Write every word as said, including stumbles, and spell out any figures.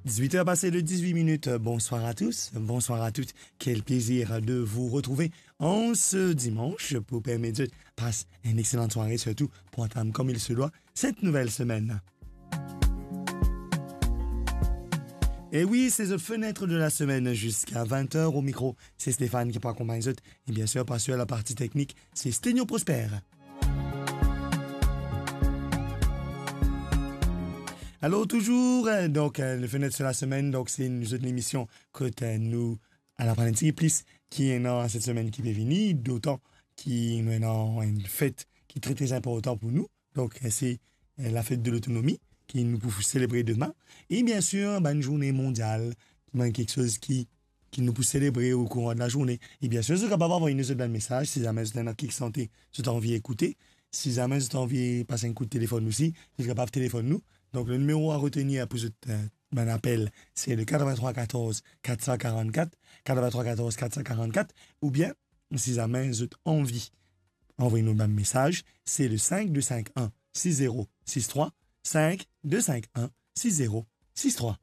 Dix-huit heures passées de dix-huit minutes. Bonsoir à tous, bonsoir à toutes. Quel plaisir de vous retrouver en ce dimanche pour permettre de passer une excellente soirée, surtout pour entame comme il se doit cette nouvelle semaine. Et oui, c'est le fenêtre de la semaine jusqu'à vingt heures au micro. C'est Stéphane qui peut accompagner. Et bien sûr, par sur la partie technique, c'est Sténio Prosper. Alors, toujours, euh, donc, euh, le fenêtre de la semaine, donc, c'est une autre émission kot, euh, nou al aprann enn tigit plis ki ena set semenn ki pe vini, dotan ki nou ena enn fet ki tre, tre inportan pou nou. Donk, se, eh, lafet de lotonomi ki nou pou selebre demin. E bien sir, bann zourne mondial, bann kiksoz ki, ki nou pou selebre okouran de lazourne. E bien sir, zot kapav avoy nou zot bann mesaz, si zame zot ena kiksoz zot anvi ekoute, si zame zot anvi pas enn kout telefonn osi, zot kapav telefonn nou. Donk, le nimero a retenir pou zot, eh, bann apel, se le quatre-vingt-trois quatorze quatre cent quarante-quatre, quatre-vingt-trois quatorze quatre cent quarante-quatre, oubien, si zame zot anvi anvoy nou bann mesaz, se le cinq deux cinq un six zéro six trois, cinq deux cinq un six zéro six trois.